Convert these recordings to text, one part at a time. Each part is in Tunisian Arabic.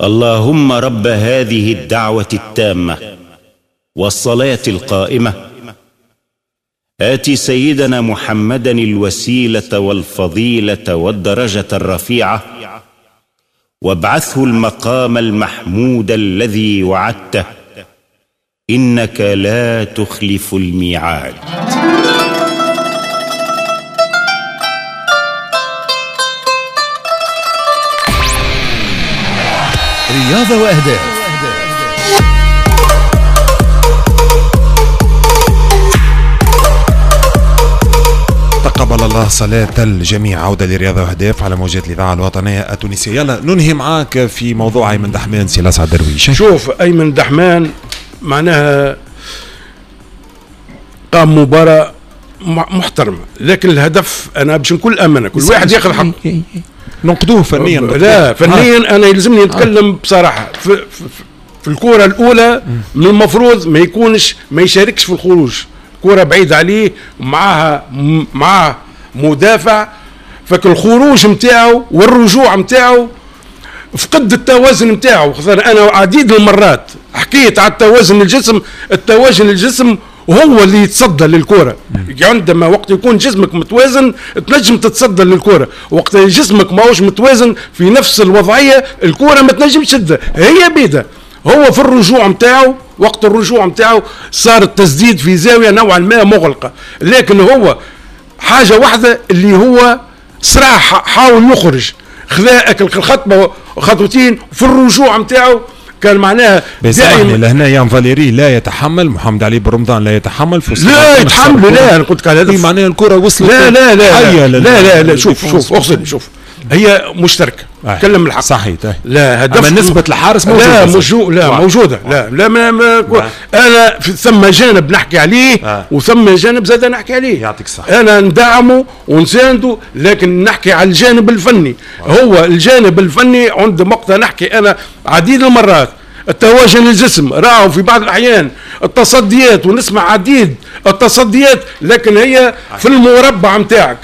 اللهم رب هذه الدعوة التامة والصلاة القائمة، آتِ سيدنا محمدا الوسيلة والفضيلة والدرجة الرفيعة، وابعثه المقام المحمود الذي وعدته، إنك لا تخلف الميعاد. رياضة وأهداف. تقبل الله صلاة الجميع. عودة لرياضة وأهداف على موجات الإذاعة الوطنية التونسية. يلا ننهي معاك في موضوع أيمن دحمان. سي لسعد درويش، شوف أيمن دحمان معناها قام مباراة محترمة، لكن الهدف أنا باش نكون أمانة كل واحد ياخذ حقه. ننقدوه فنيا؟ لا فنيا أنا يلزمني نتكلم بصراحة. في الكرة الأولى من المفروض ما يكونش، ما يشاركش في الخروج، كرة بعيدة عليه معاه مدافع، فالخروج نتاعو والرجوع نتاعو فقد التوازن نتاعو. انا عديد المرات حكيت على التوازن الجسم، التوازن الجسم هو اللي يتصدى للكرة. عندما وقت يكون جسمك متوازن تنجم تتصدى للكرة، وقت جسمك ماهوش متوازن في نفس الوضعية الكرة ما تنجمش تشدها، هي بيدها. هو في الرجوع نتاعو، وقت الرجوع نتاعو صار التسديد في زاوية نوعا ما مغلقة، لكن هو حاجة واحدة اللي هو سرع، حاول يخرج، خذا اكل الخطوة خطوتين في الرجوع نتاعو كان معناها دائما. لهنا يان فاليري لا يتحمل، محمد علي بن رمضان لا يتحمل، لا يتحمل. لا انا قلت لك على هذا معناها الكره وصلت. لا لا لا لا لا لا, لا شوف شوف اغسل شوف، هي مشتركة. كلم الحق صحيح. لا هدف، اما نسبه الحارس موجودة. لا موجودة، لا موجودة. لا لا ما ما انا ثم جانب نحكي عليه وثم جانب زاد نحكي عليه. يعطيك الصحة. انا ندعمه ونسانده، لكن نحكي على الجانب الفني. هو الجانب الفني عند وقتها نحكي انا عديد المرات التوازن الجسم راهو في بعض الاحيان التصديات، ونسمع عديد التصديات، لكن هي في المربع نتاعك.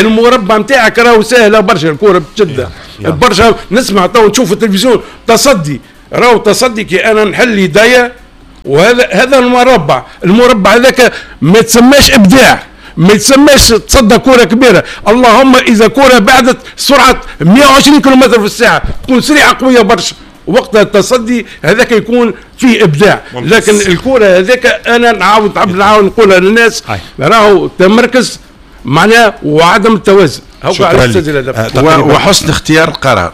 المربع نتاعك راهو سهلة برشا الكره بتشدها برشا. نسمع تو نشوف التلفزيون تصدي، راهو تصدي كي انا نحل يديا، وهذا هذا المربع، المربع هذاك ما تسماش ابداع، ما يتسماش تصدى كرة كبيرة. اللهم إذا كرة بعدت سرعة 120 كم في الساعة تكون سريعة قوية برشا، وقتها التصدي هذاك يكون فيه ابداع. لكن الكره هذاك انا نعاود نعاود نقولها للناس، راهو تمركز معناه وعدم التوازن. هو على وحسن اختيار القرار.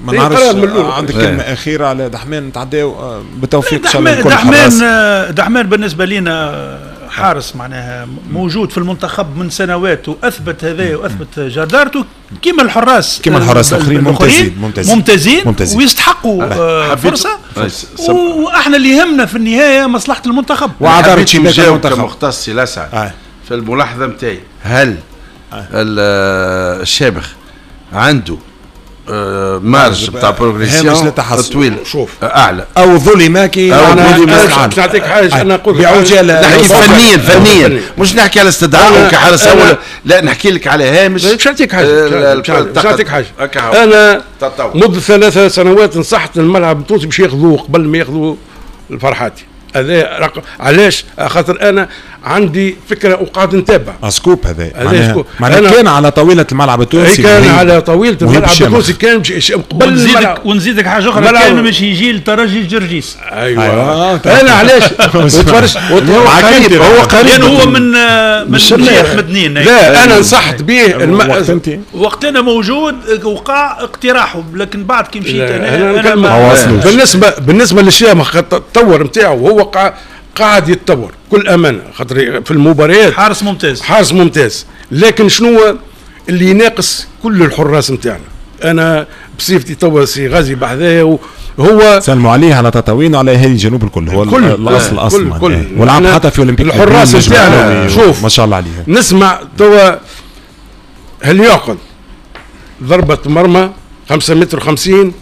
ما نعرفش عندك كلمة اخيرة على دحمان؟ نتعداو بالتوفيق ان شاء الله. دحمان دحمان بالنسبة لنا حارس معناها موجود في المنتخب من سنوات، واثبت هذا واثبت جدارته كما الحراس، كما الحراس الاخرين. ممتازين ممتازين ممتازين ويستحقوا فرصة. واحنا اللي يهمنا في النهاية مصلحة المنتخب. وعذرت شباك المنتخب كمختص لسعد في الملاحظة نتاعي، هل الشابخ عنده marge بتاع progression طويل شوف اعلى او ظلم كي او ظلم؟ نعطيك حاجة، انا نقول بعجاله نحكي فنيا فنيا، مش نحكي على استدعاء كحارس اول، لا نحكي لك على هامش. مش نعطيك حاجة، مش نعطيك حاجة. انا منذ 3 سنوات نصحت الملعب التونسي باش ياخذوه قبل ما ياخذوا الفرحاتي. هذا رقم علاش؟ خاطر انا عندي فكرة وقاعد نتابع scoop. هذا معناها كان على طاولة الملعب التونسي، كان على طاولة الملعب التونسي، كان قبل. ونزيدك حاجة اخرى، كان باش يجي لترجي الجرجيس. ايوه انا علاش وتفرج، هو قريب، هو قريب، هو من جهة مدنين. لا انا نصحت به وقت انا موجود وقع اقتراحه، لكن بعد كي مشيت انا بالنسبة بالنسبة للشامخ التطور نتاعو هو قاعد يتطور كل امانه، خاطر في المباريات حارس ممتاز، حارس ممتاز. لكن شنو اللي يناقص كل الحراس نتاعنا؟ انا بصفتي توا سي غازي بحذايا، هو سلموا عليه على تطاوين وعلى اهالي الجنوب الكل، هو الاصل اصلا ولعب حتى في اولمبيك الحراس نتاعنا. شوف ما شاء الله عليه. نسمع توا هل يعقل ضربه مرمى 5 متر 50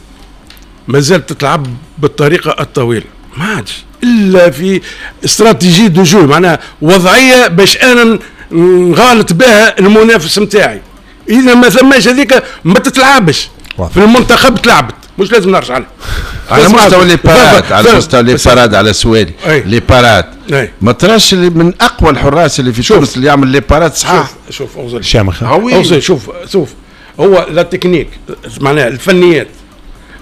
ما زالت تتلعب بالطريقة الطويلة؟ ما عادش الا في stratégie de jeu، معناها وضعية باش انا نغالط بها المنافس نتاعي. اذا ما ثماش هذيك ما تتلعبش. في المنتخب تلعبت، مش لازم نرجع لها. على مستوى les parades، على مستوى les parades، على سؤالي les parades ما تراش اللي من اقوى الحراس اللي في تونس اللي يعمل les parades صحاح؟ شوف اوزل شامخ، اوزل شوف هو la technique معناها الفنيات،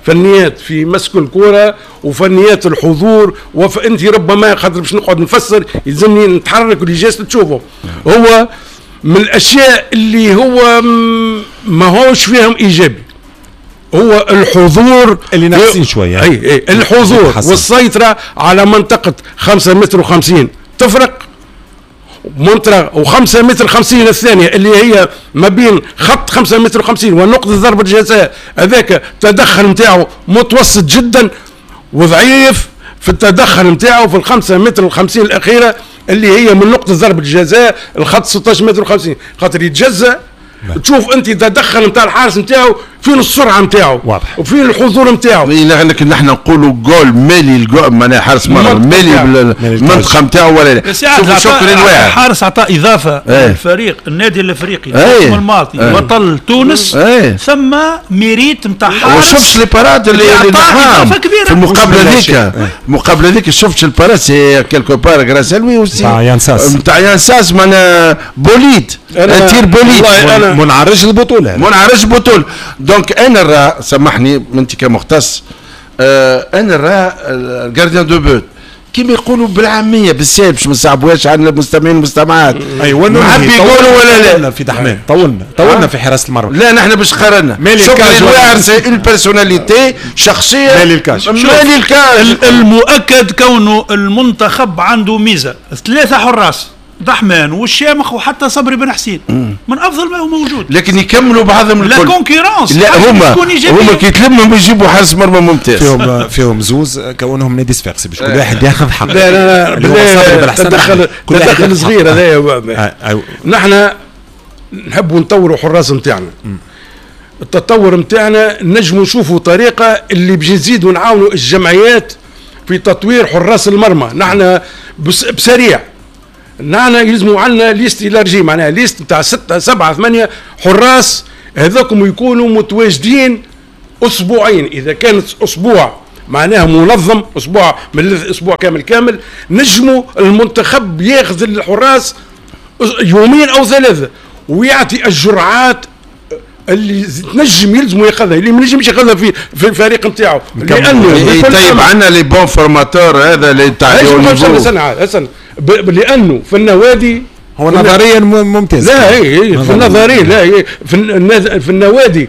فنيات في مسك الكرة وفنيات الحضور، وانت ربما خاطر باش نقعد نفسر يلزمني نتحرك و les gestes تشوفه. هو من الاشياء اللي هو ما هوش فيهم ايجابي هو الحضور اللي ناقصين شوية. اي الحضور والسيطرة على منطقة 5 متر و50 تفرق منطقة، و5 متر 50 الثانية اللي هي ما بين خط 5 متر و50 ونقطة ضربه الجزاء، هذاك التدخل نتاعو متوسط جدا وضعيف في التدخل نتاعو في 5 متر و50 الاخيرة اللي هي من نقطة ضربه الجزاء الخط 16 متر و50، خاطر يتجزأ. تشوف انت تدخل نتاع الحارس نتاعو فين السرعة نتاعو واضح وفين الحضور نتاعو. لكن نحن نقولوا جول مالي الجول معناها حارس مرمى مالي المنطقة نتاعو ولا لا. شكرا الواعر الحارس عطى اضافه للفريق النادي الافريقي الموسم الماضي بطل تونس. ثم mérite نتاع حارس. وشفتش les parades اللي اضافه كبيرة في المقابلة ذيك، المقابلة ذيك شفتش ال parade c'est quelque part grâce à lui aussi نتاع يان ساس، نتاع يان ساس معناها bolide tir bolide منعرج البطولة، منعرج البطولة. donc انا راه سامحني انت كمختص، انا راه ال gardien de but كيما يقولوا بالعامية بالسهل باش ما نصعبوهاش على المستمعين والمستمعات. ايوا نحب يقولوا ولا لا في دحمان طولنا في حراسة المرمى. لا نحن باش قارنا شكري الواعر c'est une personnalité شخصية مالي الكاج، مالي الكاج. المؤكد كونه المنتخب عنده ميزة 3 حراس، دحمان والشامخ وحتى صبري بن حسين من افضل ما هو موجود، لكن يكملوا بعضهم الكل. la concurrence لا هما كي يتلموا يجيبوا حارس مرمى ممتاز. فيهم زوز كونهم نادي صفاقسي باش كل واحد ياخذ حقه. لا لا لا تدخل صغير هذايا. نحن نحبوا نطوروا حراس نتاعنا، التطور نتاعنا نجموا نشوفوا طريقه اللي باش نزيدوا نعاونوا الجمعيات في تطوير حراس المرمى. نحن بسريع نحن يلزموا عندنا liste élargie، معناها liste نتاع 6 7 8 حراس هذوكم يكونوا متواجدين اسبوعين، اذا كانت اسبوع معناها منظم، اسبوع من اسبوع كامل كامل، نجموا المنتخب ياخذ الحراس يومين او 3 ويعطي الجرعات اللي تنجم يلزموا ياخذها، اللي ما ينجمش ياخذها في الفريق نتاعو. لانه طيب عندنا les bons formateurs هذا اللي تاع لانه في النوادي هو نظريا ممتاز. لا هي في النظرية، لا هي في النوادي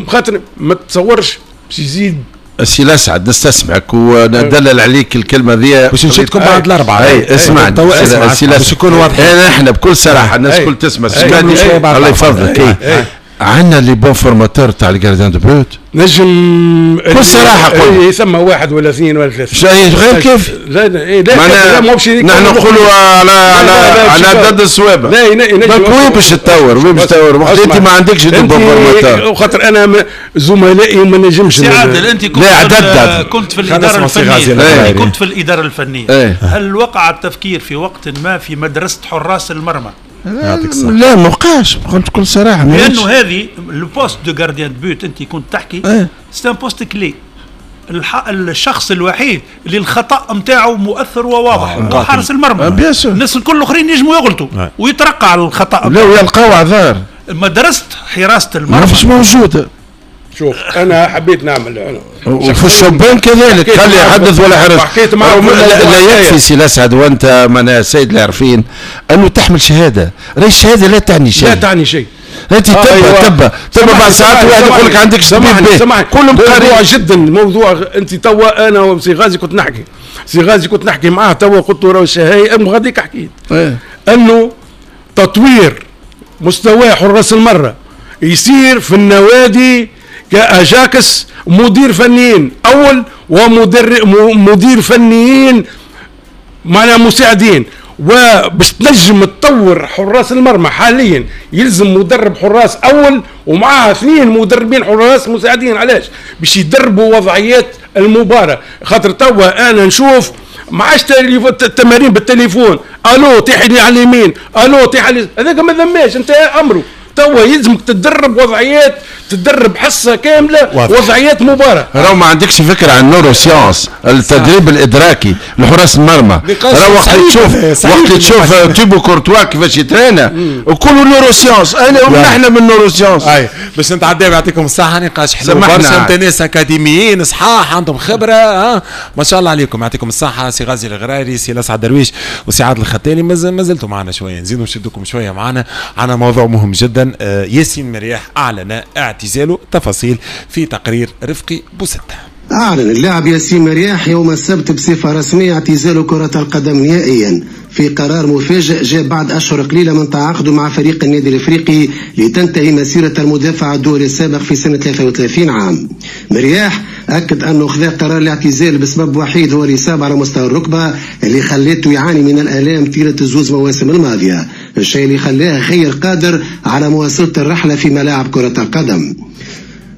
خاطر ما تصورش باش يزيد. سي الاسعد نستسمعك وندلل عليك الكلمة ذي باش نشدكم بعد الاربعة. اي اسمعني باش يكون واضح. احنا بكل صراحة الناس الكل تسمع، سمعني الله يفضلك. عندنا les bons formateurs تاع ال gardiens de but نجم بكل صراحة قول يسمى 1 ولا 2 ولا 3 غير كيف. لا لا لا نحن نقولوا على على على عدد الصوابع. لا ينجم وين باش تطور، وين باش تطور وقت انت ما عندكش des bons formateurs. خاطر انا زملائي وما نجمش. سي عادل انت كنت في الادارة الفنية، كنت في الادارة الفنية، هل وقع التفكير في وقت ما في مدرسه حراس المرمى؟ لا ما وقعش قلت بكل صراحة، لانه هذه le poste de gardien de but انت كنت تحكي c'est un poste clé. الشخص الوحيد اللي الخطا نتاعو مؤثر وواضح هو حارس المرمى. الناس الكل الاخرين ينجموا يغلطوا ويترقع الخطا. لا ويلقاو اعذار. مدرسه حراسة المرمى مش موجودة. شوف انا حبيت نعمل انا وفي الشبان كذلك خلي يحدث ولا حرج. حكيت معه لا يكفي سي الاسعد وانت من السيد العارفين انه تحمل شهادة، راهي الشهادة لا تعني شيء. لا تعني شيء. انت تبا تبا بعد ساعات واحد يقول لك عندك سامحني كلهم موضوع جدا موضوع. انت توا انا وسي غازي كنت نحكي، سي غازي كنت نحكي معاه توا قلت له راهو الشهايه غاديك حكيت انه تطوير مستوى حراس المرة يصير في النوادي كأجاكس مدير فنيين اول ومدير فنيين معنا مساعدين، وباش تنجم تطور حراس المرمى حاليا يلزم مدرب حراس اول ومعاه 2 مدربين حراس مساعدين. علاش؟ باش يدربوا وضعيات المباراة. خاطر توا انا نشوف ما عادش التمارين بالتليفون، الو طيح لي على اليمين، الو طيح على هذاك ما ذماش انتهى امره. توا يلزمك تتدرب وضعيات، تدرب حصة كاملة واضح. وضعيات مباراة. راهو ما عندكش فكرة عن ال neurosciences، التدريب الادراكي لحراس المرمى. راهو وقت تشوف وقت تشوف تيبو كورتوا كيفاش يترينا وكله neurosciences. انا نحن من neurosciences. اي باش نتعداو، يعطيكم الصحة، نقاش حلو برشا، انت ناس اكاديميين صحاح عندهم خبره، ها ما شاء الله عليكم، يعطيكم الصحة سي غازي الغراري، سي لسعد درويش، وسي عادل الختالي. ما زلتوا معنا شوية، نزيدوا نشدكم شوية معنا، عندنا موضوع مهم جدا. ياسين مرياح اعلن اعتزاله، تفاصيل في تقرير رفقي بوستة. أعلن اللاعب ياسين مرياح يوم السبت بصفة رسمية اعتزاله كرة القدم نهائيا، في قرار مفاجئ جاء بعد أشهر قليلة من تعاقده مع فريق النادي الإفريقي لتنتهي مسيرة المدافع الدولي السابق في سنة 33 عام. مرياح أكد أنه خذا قرار الاعتزال بسبب وحيد هو الإصابة على مستوى الركبة اللي خلته يعاني من الآلام طيلة الزوز مواسم الماضية، الشيء اللي خلاه غير قادر على مواصلة الرحلة في ملاعب كرة القدم.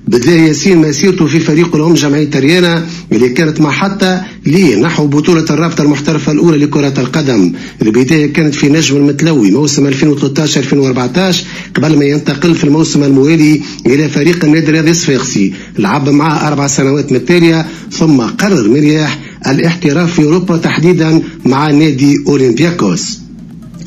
بدأ ياسين مسيرته في فريق الأم جمعية ريانا اللي كانت محطة ليه نحو بطولة الرابطة المحترفة الأولى لكرة القدم. البداية كانت في نجم المتلوي موسم 2013-2014 قبل ما ينتقل في الموسم الموالي إلى فريق النادي الرياضي الصفاقسي، لعب معه 4 سنوات متتالية، ثم قرر مرياح الاحتراف في أوروبا تحديدا مع نادي أولمبياكوس.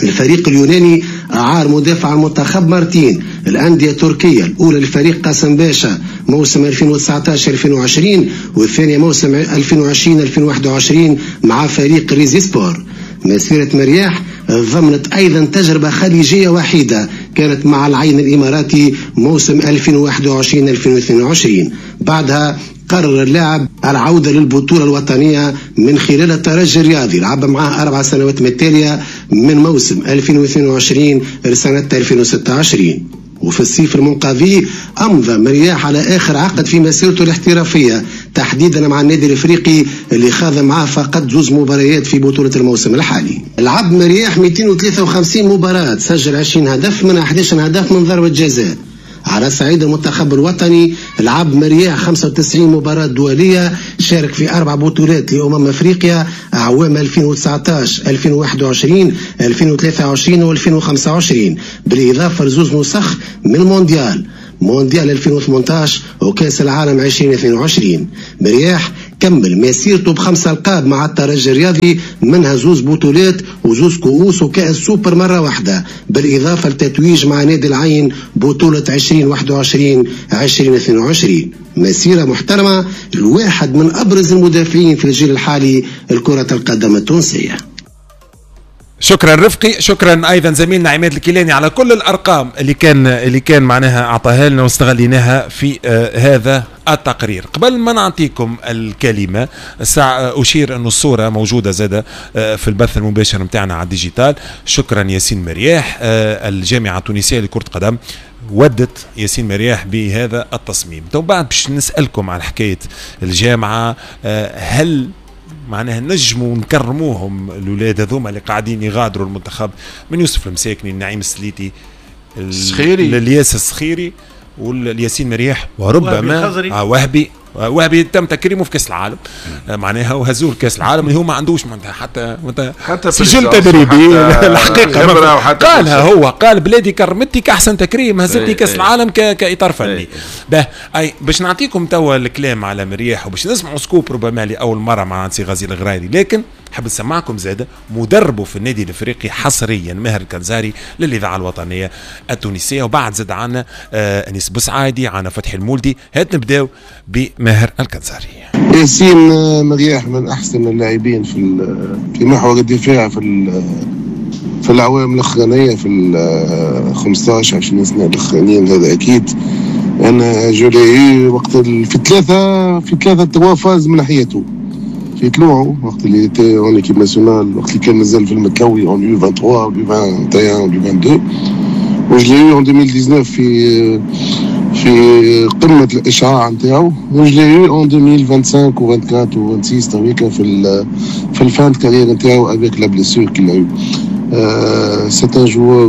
الفريق اليوناني أعار مدافع المنتخب مارتين الأندية التركية، الأولى لفريق قاسم باشا موسم 2019-2020 والثانية موسم 2020-2021 مع فريق ريزي سبور. مسيرة مرياح ضمنت أيضا تجربة خليجية وحيدة كانت مع العين الإماراتي موسم 2021-2022، بعدها قرر اللاعب العودة للبطولة الوطنية من خلال الترجي الرياضي، لعب معاه 4 سنوات متتالية من موسم 2022 لسنة 2026. وفي الصيف المنقضي أمضى مرياح على آخر عقد في مسيرته الاحترافية تحديدا مع النادي الإفريقي اللي خاض معاه فقط 2 مباريات في بطولة الموسم الحالي. لعب مرياح 253 مباراة، سجل 20 هدف من 11 هدف من ضربة جزاء. على صعيد المنتخب الوطني لعب مرياح 95 مباراة دولية، شارك في 4 بطولات لأمم أفريقيا أعوام 2019 2021 2023 و2025، بالإضافة لزوز نسخ من مونديال 2018 وكأس العالم 2022. مرياح كمل مسيرته ب5 ألقاب مع الترجي الرياضي، منها 2 بطولات و2 كؤوس وكأس سوبر مرة واحدة، بالإضافة لتتويج مع نادي العين بطولة 2021-2022. مسيرة محترمة الواحد من أبرز المدافعين في الجيل الحالي لكرة القدم التونسية. شكرا رفقي، شكرا ايضا زميلنا عماد الكيلاني على كل الارقام اللي كان معناها اعطاها لنا واستغليناها في هذا التقرير. قبل ما نعطيكم الكلمة الساعة اشير ان الصورة موجودة زاده في البث المباشر نتاعنا على ال digital. شكرا ياسين مرياح، الجامعة التونسية لكرة القدم ودت ياسين مرياح بهذا التصميم. تو بعد باش نسالكم على حكاية الجامعة، هل معناها نجموا نكرموهم الاولاد هذوما اللي قاعدين يغادروا المنتخب، من يوسف المساكني، النعيم السليتي، السخيري، الياس السخيري والياسين مرياح، وربما وهبي تم تكريمه في كاس العالم، معناها وهزوه كاس العالم اللي هو ما عندوش معناتها حتى سجل تدريبي الحقيقة قالها هو، قال بلادي كرمتني كاحسن تكريم، هزتني كاس العالم كاطار فني. باه اي باش نعطيكم توا الكلام على مرياح وباش نسمعوا scoop ربما لاول مرة مع سي غازي الغرايري، لكن حاب نسمعكم زاده مدربه في النادي الافريقي حصريا ماهر الكنزاري للاذاعة الوطنية التونسية، وبعد زاد عنا انيس بوسعادي، عنا فتحي المولدي. هات نبداو بماهر الكنزاري. ياسين مرياح من احسن اللاعبين في محور الدفاع في الاعوام الاخرانية، في 15 20 سنة الاخرانيين، هذا اكيد. انا je l'ai eu وقت في ثلاثة phases من حياته، في طلوعه وقت اللي était en équipe nationale، وقت اللي كان مازال في المتلوي en U 23 U 21 U 22، و je l'ai eu en 2019 في قمة الاشعاع نتاعو، و je l'ai eu en 2025 و 24 و 26 تويكا في ال fin carrière نتاعو avec la blessure qu'il a eue. C'est un joueur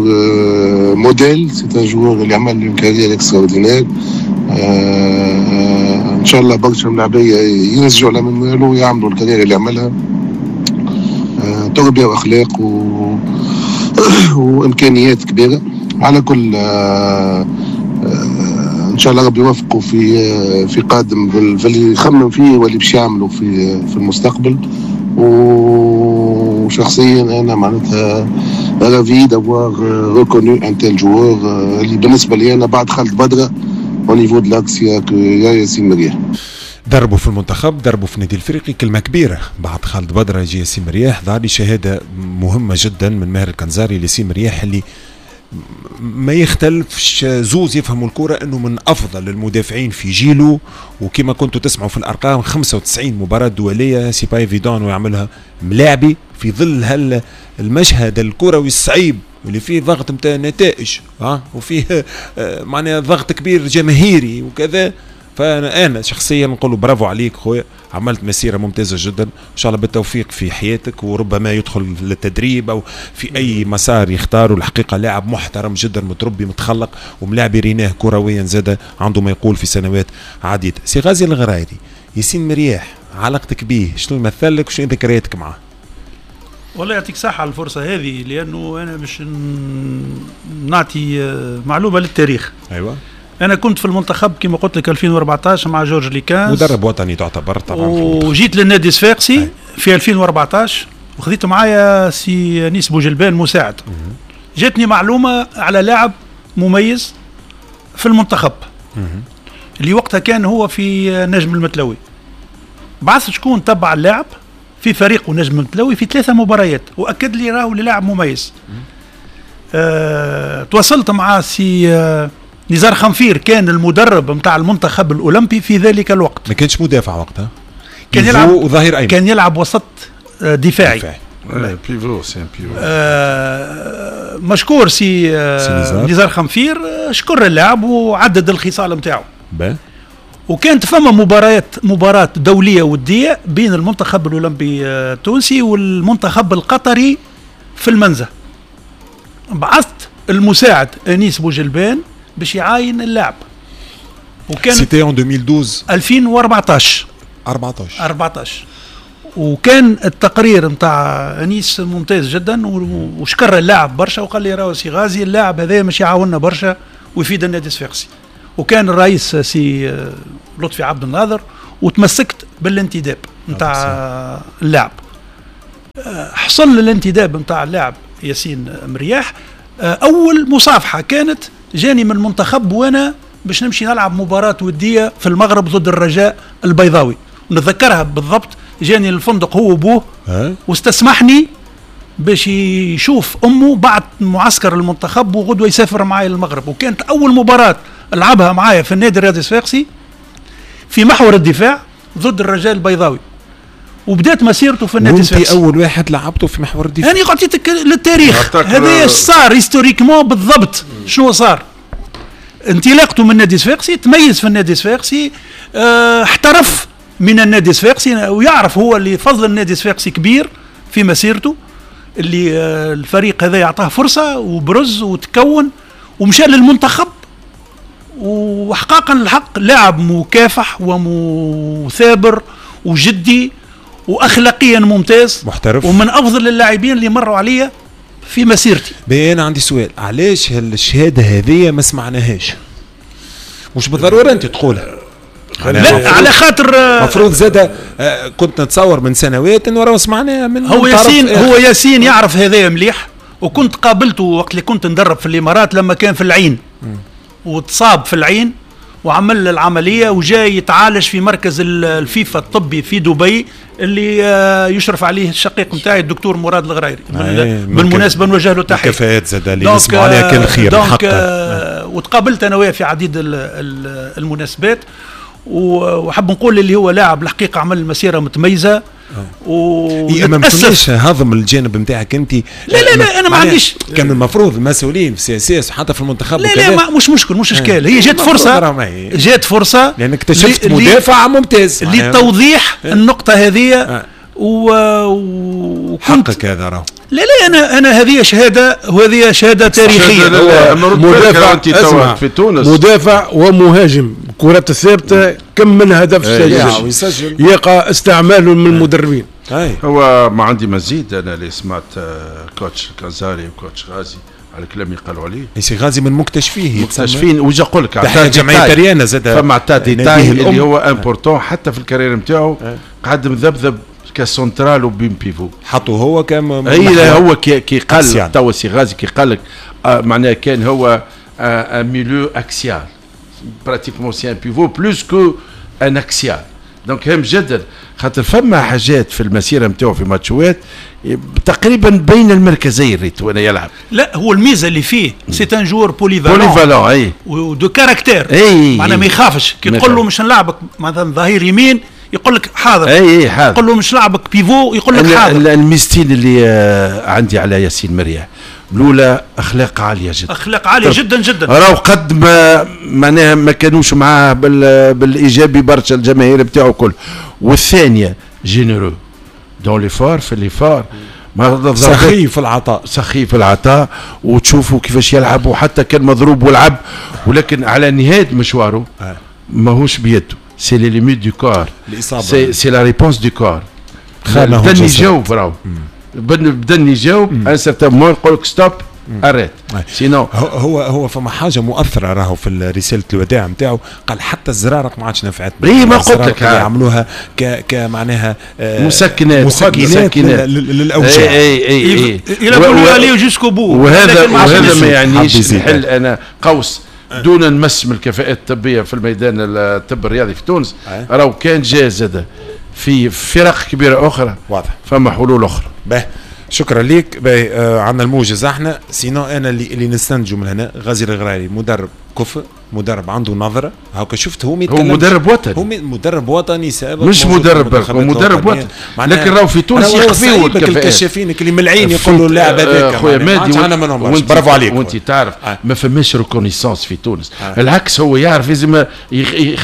modèle, c'est un joueur اللي عمل une carrière extraordinaire. ان شاء الله برشا ملاعبيه ينسجوا على منه ويعملوا ال carrière اللي عملها، تربيه واخلاق وامكانيات كبيرة. على كل ان شاء الله ربي يوفقه في قادم في اللي يخمم فيه واللي باش يعمله في المستقبل. وشخصيا انا معناتها ravi d'avoir reconnu un tel joueur اللي بالنسبة لي انا بعد خالد بدره au niveau de l'axe يا ياسين مرياح. دربوا في المنتخب، دربوا في النادي الافريقي، كلمة كبيرة بعد خالد بدره يجي ياسين مرياح. ظهر لي شهادة مهمة جدا من ماهر الكنزاري لياسين مرياح اللي ما يختلفش زوز يفهموا الكرة انه من افضل المدافعين في جيله، وكما كنتوا تسمعوا في الارقام 95 مباراة دولية، c'est pas évident ويعملها ملاعبي في ظل هالمشهد الكروي الصعيب اللي فيه ضغط نتاع نتائج وفيه معناها ضغط كبير جماهيري وكذا. فانا شخصيا نقول برافو عليك خويا، عملت مسيره ممتازة جدا، ان شاء الله بالتوفيق في حياتك، وربما يدخل للتدريب او في اي مسار يختاره. الحقيقة لاعب محترم جدا، متربي، متخلق، وملاعب ريناه كرويا زاد عنده ما يقول في سنوات عديدة. سي غازي الغرايري، ياسين مرياح علاقتك به شنو يمثل لك وشنو ذكرياتك معاه؟ والله يعطيك صحة على الفرصة هذه، لانه انا باش نعطي معلومة للتاريخ. ايوه، أنا كنت في المنتخب كما قلت لك 2014 مع جورج ليكانز، مدرب وطني تعتبر طبعا، وجيت للنادي الصفاقسي في 2014 وخذيت معايا سي أنيس بوجلبان مساعد. جاتني معلومة على لاعب مميز في المنتخب اللي وقتها كان هو في نجم المتلوي. بعثت شكون تبع اللاعب في فريقه نجم المتلوي في 3 مباريات وأكد لي راهو لاعب مميز. تواصلت مع سي نزار خنفير، كان المدرب نتاع المنتخب الاولمبي في ذلك الوقت. ما كانش مدافع وقتها، كان يلعب وظهير ايمن، كان يلعب وسط دفاعي. pivot، c'est un pivot. مشكور سي نزار خنفير، شكر اللاعب وعدد الخصال نتاعو. وكانت فما مباراة دولية ودية بين المنتخب الأولمبي التونسي والمنتخب القطري في المنزه. بعثت المساعد أنيس بوجلبان باش يعاين اللاعب. وكان c'était en 2012 2014 14. وكان التقرير نتاع انيس ممتاز جدا، وشكر اللاعب برشا وقال لي راهو سي غازي اللاعب هذا مش يعاوننا برشا ويفيد النادي الصفاقسي. وكان الرئيس سي لطفي عبد الناظر، وتمسكت بالانتداب نتاع اللاعب. حصل الانتداب نتاع اللاعب ياسين مرياح. اول مصافحه كانت جاني من المنتخب وانا باش نمشي نلعب مباراة ودية في المغرب ضد الرجاء البيضاوي، نتذكرها بالضبط. جاني الفندق هو وابوه واستسمحني باش يشوف امه بعد معسكر المنتخب وغدوه يسافر معايا للمغرب. وكانت اول مباراة لعبها معايا في النادي الرياضي الصفاقسي في محور الدفاع ضد الرجاء البيضاوي، وبدات مسيرته في النادي الصفاقسي. وانت اول واحد لعبته في محور الدفاع؟ انا عطيتك للتاريخ، هذا صار historiquement بالضبط شنو صار. انطلاقته من النادي الصفاقسي، تميز في النادي الصفاقسي، احترف من النادي الصفاقسي، ويعرف هو اللي فضل النادي الصفاقسي كبير في مسيرته، اللي الفريق هذا يعطاه فرصة وبرز وتكون ومشى للمنتخب. وحقاقا الحق لاعب مكافح ومثابر وجدي واخلاقيا ممتاز، محترف، ومن افضل اللاعبين اللي مروا عليا في مسيرتي. انا عندي سؤال، علاش هالشهاده هذه ما سمعناهاش؟ مش بالضرورة انت تقولها، لا على خاطر المفروض زاد كنت نتصور من سنوات انه راه سمعناها من هو ياسين. هو ياسين يعرف هذايا مليح، وكنت قابلته وقت اللي كنت ندرب في الامارات لما كان في العين، وتصاب في العين وعمل العملية وجاي يتعالج في مركز الفيفا الطبي في دبي اللي يشرف عليه الشقيق نتاعي الدكتور مراد الغرايري. بالمناسبة نوجه له تحية. كفاءات زاد اللي نسمعوا عليها كان خير. donc وتقابلت انا وياه في عديد المناسبات، وحب نقول اللي هو لاعب الحقيقة عمل مسيره متميزة. ما كناش هضم الجانب نتاعك انت. لا لا لا انا ما عنديش. كان المفروض المسؤولين في CSS وحتى في المنتخب. لا لا ما مش مشكل، مش اشكال. هي جات فرصة، جات فرصة لانك اكتشفت مدافع ممتاز لتوضيح النقطة هذه. وكنت حقك هذا راهو. لا لا انا هذه شهادة، وهذه شهادة تاريخية. مدافع في تونس، مدافع ومهاجم، كرات الثابتة كم من هدف سجل يقع استعماله من المدربين. هو ما عندي مزيد. انا اللي سمعت coach كازاري و coach غازي على الكلام اللي قالوا عليه. سي غازي من مكتشفيه، مكتشفين. وجا نقول لك تحية جمعية ريانا زاد فما عطاه détail اللي هو important حتى في ال carrière نتاعو، قعد مذبذب كسنترال وبين pivot، حطوا هو كم اي هو كي قال توا سي غازي كي قال لك معناها كان هو un milieu axial pratiquement، c'est un pivot plus que un axial. donc هام جدا خاطر فما حاجات في المسيرة نتاعو في ماتشوات تقريبا بين المركزين ريت وانا يلعب. لا هو الميزة اللي فيه c'est un joueur polyvalent، polyvalent اي و de caractère، معناها ما يخافش كي تقول له مش نلعبك مثلا ظهير يمين يقول لك حاضر، اي حاضر. تقول له مش لعبك pivot يقول لك حاضر. الميزتين اللي عندي على ياسين مرياح، الاولى اخلاق عالية جدا، اخلاق عالية جدا جدا. راهو قد ما معناها ما كانوش معاه بالايجابي برشا الجماهير بتاعه كل. والثانية généreux dans l'effort، في l'effort سخي في العطاء، سخي في العطاء، وتشوفوا كيفاش يلعب وحتى كان مضروب ولعب، ولكن على نهاية مشواره ماهوش بيده، c'est les limites du corps، c'est la réponse du corps. بدن يجاوب راهو، بدن يجاوب un certain moment يقول لك stop arrête sinon. هو فما حاجة مؤثرة راهو في رسالة الوداع نتاعو، قال حتى الزرارق ما عادش نفعت. اي ما قلت لك يعملوها كمعناها مسكنات للاوجاع. اي اي اي jusqu'au bout. وهذا ما يعنيش نحل انا قوس دون المس من الكفاءات الطبية في الميدان الطب الرياضي في تونس. راهو كان جاء في فرق كبيرة اخرى واضح فما حلول اخرى. باه شكرا لك. عندنا الموجز احنا sinon انا اللي نستنتجوا من هنا غازي الغراري مدرب كفء، مدرب عنده نظره، هاكا شفت هو هو مدرب وطني، هو مدرب وطني سابق، مش مدرب مدرب وطني، لكن راهو في تونس يخفيوا الكشافين اللي من العين يقولوا اللاعب هذاك خويا مادي، برافو عليك. وانت تعرف ما فماش reconnaissance في تونس، العكس هو يعرف لازم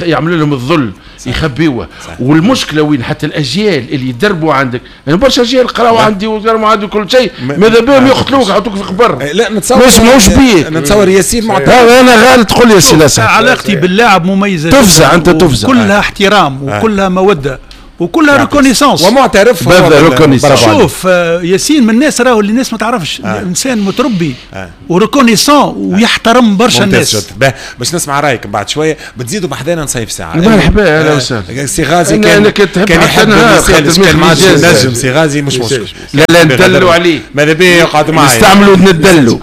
يعملوا لهم الظل يخبيوه. والمشكلة وين حتى الاجيال اللي يدربوا عندك، يعني برشا اجيال قراوا عندي وقراوا عندي كل شيء، ماذا بهم يقتلوك يحطوك في قبر. لا نتصور مش ماهوش بيه، نتصور ياسين معترف. انا غالط تقول يا سي لاسعد علاقتي باللاعب مميزة، تفزع انت تفزع، كلها احترام وكلها موده وكلها reconnaissance ومعترف. شوف ياسين من الناس راهو اللي الناس ما تعرفش، انسان متربي و reconnaissant ويحترم برشا الناس. باش نسمع رايك بعد شوية، بتزيدوا بحذانا نصيف ساعة. مرحبا اهلا وسهلا. سي غازي كان يحب كان ما عادش نجم سي غازي مش مشكل. لا لا ندلوا عليه، ماذا بيه يقعد معايا، نستعملوا ندلوا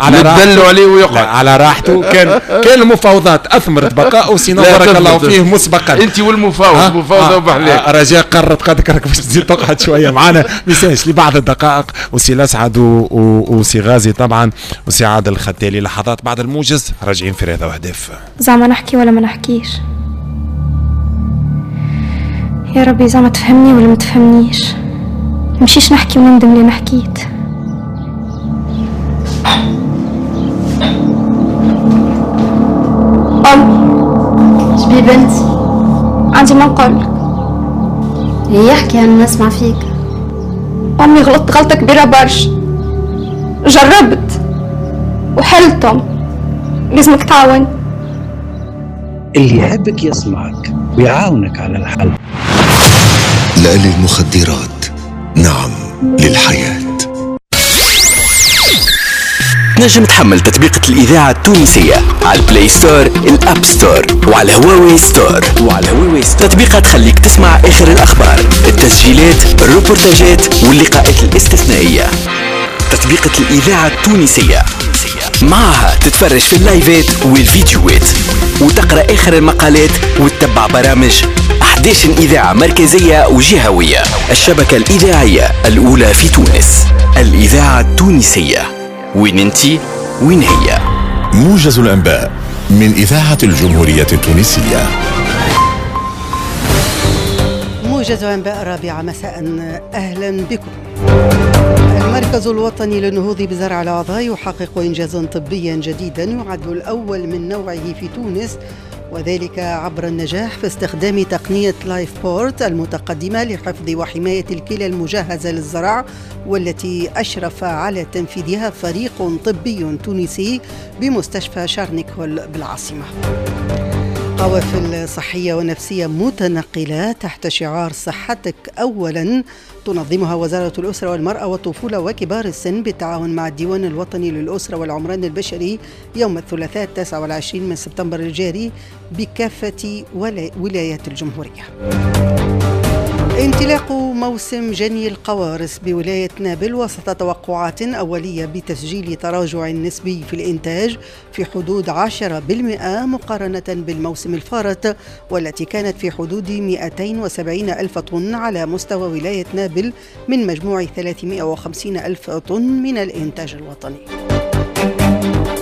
عليه ويقعد على راحته. كان المفاوضات اثمرت بقائه، sinon بارك الله فيه مسبقا. انت والمفاوض مفاوضه وبحلاك. رجاء قررت قدرك باش تزيد تقعد شوية معنا ميساج لبعض الدقائق. وسي الاسعد وسي غازي طبعا وسي عادل الختالي. لحظات بعد الموجز راجعين في رياضة واهداف. زعما نحكي ولا ما نحكيش؟ يا ربي زعما تفهمني ولا ما تفهمنيش؟ نمشيش نحكي ونندم لي حكيت. أمي شبي بنتي؟ عندي ما نقولك. يحكي انا نسمع فيك. امي غلطت غلطه كبيرة برشا، جربت وحلتم، لازمك تعاون. اللي يحبك يسمعك ويعاونك على الحل. لا للمخدرات، نعم للحياة. تنجم تحمل تطبيقة الإذاعة التونسية على ال Play Store، ال App Store وعلى Huawei Store. تطبيقة تخليك تسمع آخر الأخبار، التسجيلات، الروبورتاجات واللقاءات الاستثنائية. تطبيقة الإذاعة التونسية معها تتفرج في اللايفات والفيديوهات وتقرأ آخر المقالات وتتبع برامج 11 إذاعة مركزية وجهوية. الشبكة الإذاعية الأولى في تونس، الإذاعة التونسية. وين انتي وين هي؟ موجز الأنباء من إذاعة الجمهورية التونسية. موجز أنباء 4 مساء، أهلا بكم. المركز الوطني للنهوض بزرع الأعضاء يحقق إنجازا طبيا جديدا يعد الأول من نوعه في تونس، وذلك عبر النجاح في استخدام تقنية LifePort المتقدمة لحفظ وحماية الكلى المجهزة للزرع، والتي أشرف على تنفيذها فريق طبي تونسي بمستشفى شارنيكول بالعاصمة. قوافل صحية ونفسية متنقلة تحت شعار صحتك أولا تنظمها وزارة الأسرة والمرأة والطفولة وكبار السن بالتعاون مع الديوان الوطني للأسرة والعمران البشري يوم الثلاثاء 29 من سبتمبر الجاري بكافة ولايات الجمهورية. انطلاق موسم جني القوارص بولاية نابل وسط توقعات أولية بتسجيل تراجع نسبي في الإنتاج في حدود 10% مقارنة بالموسم الفارط، والتي كانت في حدود 270 ألف طن على مستوى ولاية نابل من مجموع 350 ألف طن من الإنتاج الوطني.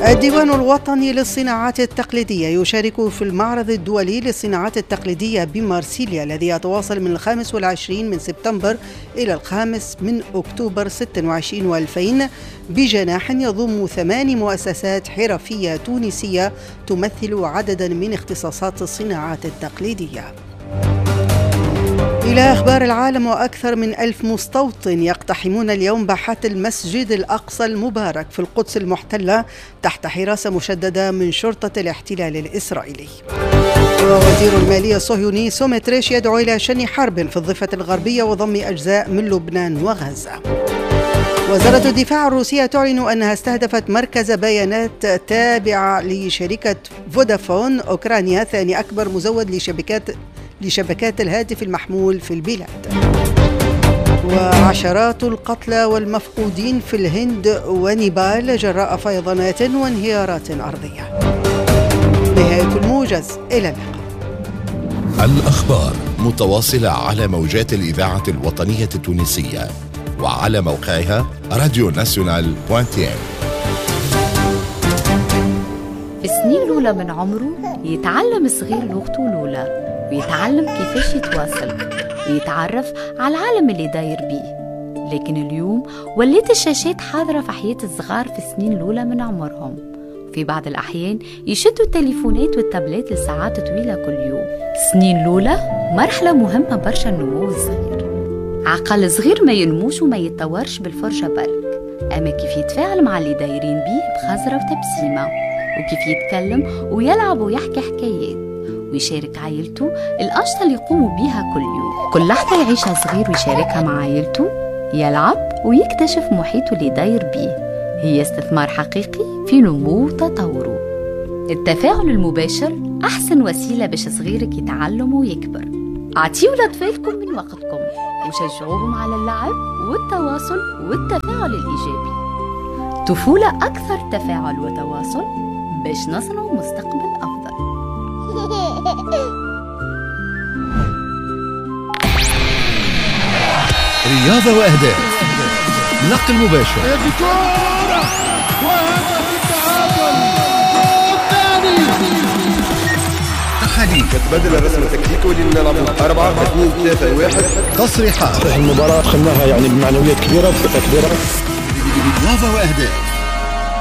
الديوان الوطني للصناعات التقليدية يشارك في المعرض الدولي للصناعات التقليدية بمارسيليا الذي يتواصل من 25 من سبتمبر إلى 5 من أكتوبر 26 و2000 بجناح يضم 8 مؤسسات حرفية تونسية تمثل عددا من اختصاصات الصناعات التقليدية. إلى أخبار العالم، وأكثر من 1000 مستوطن يقتحمون اليوم باحات المسجد الأقصى المبارك في القدس المحتلة تحت حراسة مشددة من شرطة الاحتلال الإسرائيلي. ووزير المالية الصهيوني سومتريش يدعو إلى شن حرب في الضفة الغربية وضم أجزاء من لبنان وغزة. وزارة الدفاع الروسية تعلن أنها استهدفت مركز بيانات تابع لشركة فودافون أوكرانيا، ثاني أكبر مزود لشبكات الهاتف المحمول في البلاد. وعشرات القتلى والمفقودين في الهند ونيبال جراء فيضانات وانهيارات أرضية. نهاية الموجز، إلى اللقاء. الأخبار متواصلة على موجات الإذاعة الوطنية التونسية وعلى موقعها راديو ناسيونال .tn. في السنين الأولى من عمره يتعلم صغير لغته الأولى، ويتعلم كيفاش يتواصل ويتعرف على العالم اللي داير بيه. لكن اليوم ولات الشاشات حاضرة في حياة الصغار في السنين الأولى من عمرهم. في بعض الأحيان يشدوا التليفونات والتابلات لساعات طويلة كل يوم. السنين الأولى مرحلة مهمة برشا النمو الصغير. عقل صغير ما ينموش وما يتطورش بالفرجة برك، أما كيف يتفاعل مع اللي دايرين بيه بخزرة وتبسيمة، وكيف يتكلم ويلعب ويحكي حكايات ويشارك عائلته الأنشطة اللي يقوموا بيها كل يوم. كل لحظة يعيشها صغير ويشاركها مع عائلته، يلعب ويكتشف محيطه اللي داير بيه، هي استثمار حقيقي في نمو وتطوره. التفاعل المباشر أحسن وسيلة باش صغيرك يتعلم ويكبر. أعطيوا لأطفالكم من وقتكم وشجعوهم على اللعب والتواصل والتفاعل الإيجابي. طفولة أكثر تفاعل وتواصل باش نصنع مستقبل أفضل. رياضة وأهداف، نقل مباشر، كورة وهدف التعادل الثاني، تحاليل، تبدل الرسم التكتيكي ولينا نلعبوا 4 2 3 1، تصريحات. المباراة دخلناها يعني بمعنويات كبيرة وثقة كبيرة. رياضة وأهداف